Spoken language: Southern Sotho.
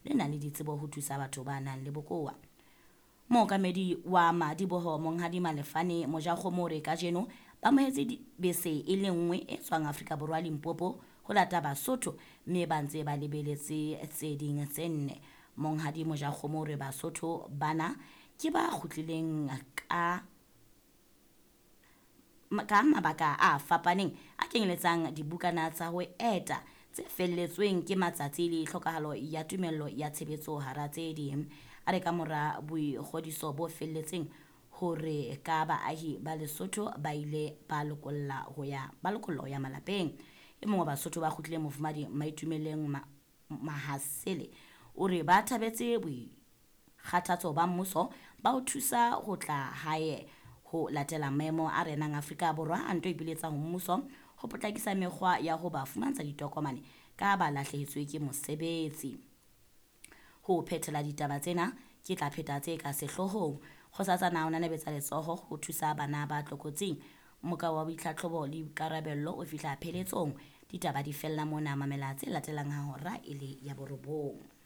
le nang le ditsebo ho thusa batho ba nang le bokowa. Mookamedi wa madiboho Monghadi Malefane Mojakgomo o re kajeno ba amohetse bese e le nngwe e tswang Afrika Borwa Limpopo ho lata Basotho mme ba ntse ba lebeletse tse ding tse nne. Monghadi Mojakgomo o re Basotho bana ke ba kgutlileng ka ka mabaka a fapaneng a kenyeletsang dibukana tsa ho eta tse felletsweng ke matsatsi le tlhokahalo ya tumello ya tshebetso hara tse ding. A re ka mora boikgodiso bo felletseng hore ka baahi ba Lesotho ba ile ba lokolla ho ya ba lokollwa ho ya malapeng. E mong wa Basotho ba kgutlileng Mofumadi Maitumeleng Mahasele o re ba thabetse boikgathatso ba mmuso ba ho thusa ho tla hae ho latela maemo a renang Afrika Borwa a nto ipiletsa ho mmuso ho potlakisa mekgwa ya ho ba fumantsha ditokomane ka ba lahlehetswe ke mosebetsi. Ho phethela ditaba tsena ke tla pheta tse ka sehloohong. Kgosatsana o nanabetsa letsoho ho thusa bana ba tlokotsing. Moka wa boitlhatlhobo le boikarabello o fihla pheletsong. Ditaba di fella mona, mamela tse latelang ha hora e le ya borobong.